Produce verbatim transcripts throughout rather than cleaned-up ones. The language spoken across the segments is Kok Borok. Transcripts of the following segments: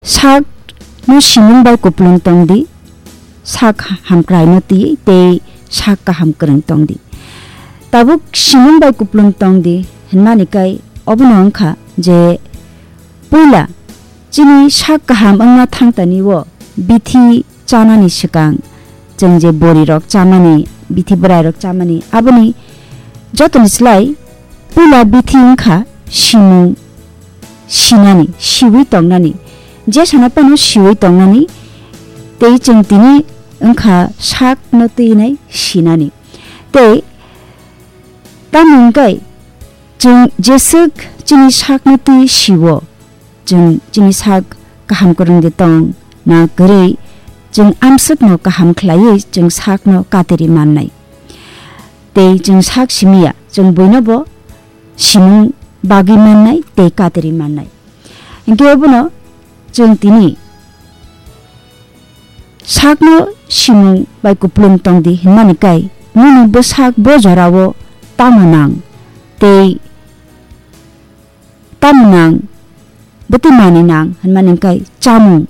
Sak no simung bai kupulung tong di, sak hamkrai no twi tei sak kaham kwrwng tong di. Tabuk simung bai kupulung tong di hwnmani kai obono wngkha je puila chini sak kaham wngna thangtani o bithi chanani swkang chwng je bori rok chamani, bithi bwrai rok chamani, aboni jotoni slai puila bithi wngkha simung sinani, siwi tongnani. Je sana phano siwi tongnani, tei chwng tini wngkha sak no twi nai sinani. Tei tamni hwnkhe chwng jeswk chini sak no twi siwo, chwng chini sak kaham kwrwng de tong na kwrwi, chwng amswk no kaham khlaiwi chwng sak no kateri mannai. Tei chwng sak simiya, chwng buino bo simung bagwi mannai tei kateri mannai. Hingke obono chwng tini sakno simung bai kupulung tong di hwnmani kai, nini bwsak bo jorao tamo nang tei tamo nang, bwtwi manwi nang hwnmani kai chamung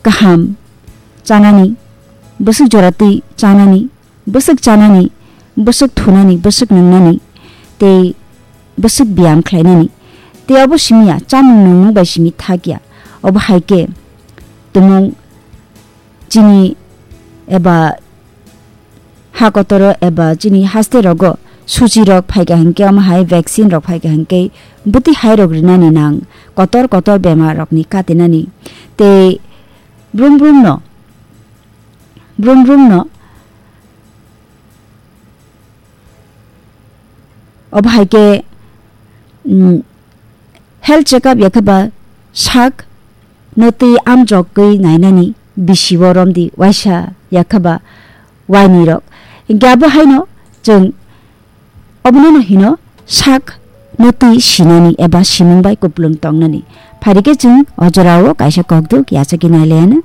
kaham chanani, bwswk jora twi chanani, bwswk chanani, bwswk thunani, bwswk nungnani, tei bwswk biyam khlainani. Tei obo simi ya, chamung nungmung bai simi thak ya. Obo hai khe tumung chini eba ha kotoro eba chini haste rogo suchi rok phaikha hinkhe, omo hai vaccine rok phaikha hinkhe bwtwi hai rok rinani nang kotor kotor bemar rokni katinani. Tei brum brum no, brum brum no. Obo hai khe, mm, health checkup ya khe ba sak no twi amjokgwi nainani bisi o romdi waisa ya khe ba waini rok. Hinkhe abo haino chwng obono no hino sak no twi sinani eba simung bai kupulung tongnani. Phari khe chwng o jorao kaisa kokduk yachagwi nailaianw.